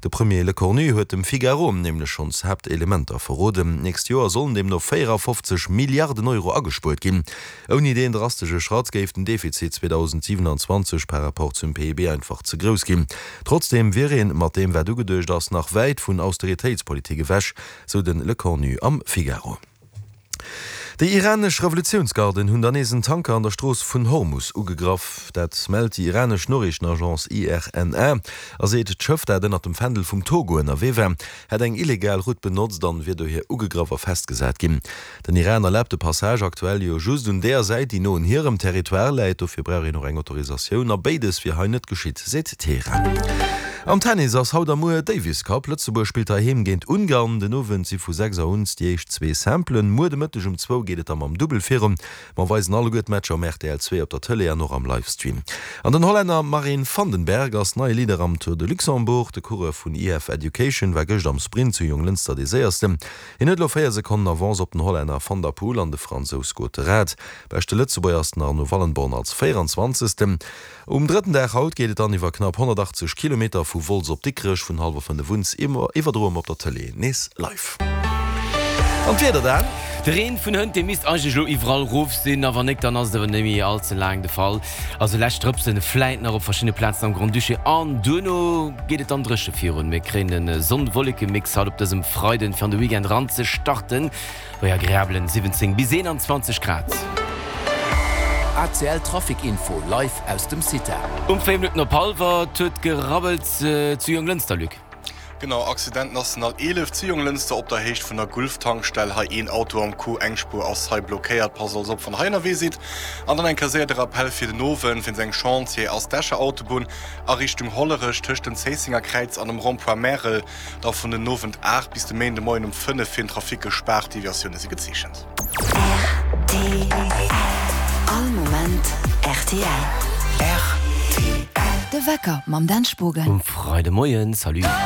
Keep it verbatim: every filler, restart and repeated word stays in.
De Premier Lecornu huet dem Figaro nämlech schonns Haaptelementer verroden. D'nächst Joer sollen deemno véierafofzeg Milliarden Euro agespuert ginn. Ouni deen drastesche Schratt géif den Defizit zweedausendsiwenanzwanzeg par rapport zum P I B einfach ze grouss ginn. Trotzdeem wier een mat deem wat ugeduecht ass nach wäit vun Austeritéitspolitik ewech, sou de Lecornu am Figaro. Déi iranesch Revolutiounsgarden hunn dann nees en Tanker an der Strooss vun Hormus ugegraff. Dat mellt déi iranesch Noriichtenagence I R N A a seet, d'Schëff, dat ënnert dem Fändel vum Togo ënnerwee war, hätt eng illegal Route benotzt an wier dohier ugegraff a festgesat ginn. Den Iran erlaabt de Passage aktuell jo just un där Säit, déi no un hirem Territoire läit. Dofir brauch een och eng Autorisatioun a béides wier hei net geschitt, seet Teheran. Am Tennis ass haut a muer Davis Cup. Lëtzebuerg spillt heiheem géint Ungarn. Den Owend si vu sechs Auer un déi éischt zwee Simplen. Muer de Mëtteg um zwou geet et da mam Dubbel virun. Mer weisen alleguer d'Matcher um R T L zwee op der Tëlee an och am Livestream. An den Hollänner Marijn van den Berg ass neie Leader am Tour de Luxembourg. De Coureur vun E F Education war gëscht am Sprint zu Jonglënster dee Séiersten. Hien huet elo véier Sekonnen Avance op den Hollänner van der Poel an de Fransous Gottérat. Beschte Lëtzebuerger ass den Arno Wallenborn als véieranzwanzegsten. Um drëtten Dag haut geet et dann iwwer knapp honnertachtzeg Kilometer vu Wolz op Dikrech. Vun hallwer fënnef un iwwerdroe mer op der Tëlee nees live. An d'Wieder dann? De Reen vun hënt, dee misst eigentlech elo iwwerall rof sinn, a wann nik, dann ass et awer net méi all ze laang de Fall. Also lescht Drëpsen vläit nach op verschiddene Plazen am Grand-Duché an duerno geet et dann dréche virun. Mir kréien e Sonn-Wolleke-Mix haut op dësem Freiden, fir an de Weekend ran ze starten, bei agreabelen siwwenzéng bis eenanzwanzeg Grad. A C L Trafic Info live aus dem CITA. Um véier Minutten op hallwer, et huet gerabbelt zu Jonglënster, Luc. Genau, Accident National eelef zu Jonglënster op der Héicht vun der Gulf-Tankstell. Hei een Auto am Coup, eng Spuer ass hei blockéiert. Passt also op wann der hei ënnerwee sidd. An dann eng Kéier séier de Rappell fir den Owend, wéinst engem Chantier ass d'Escher Autobunn a Richtung Hollerech tëscht dem Zéissenger Kräiz an dem Rond-point Märel da vun den Owend aacht bis de Méinde Moien um fënnef fir den Trafic gespaart. Deviatioune si gezeechent. R T L. All Moment R T L. R T L. De Wecker mam Dan Spogen. Um Freidemoien, salut.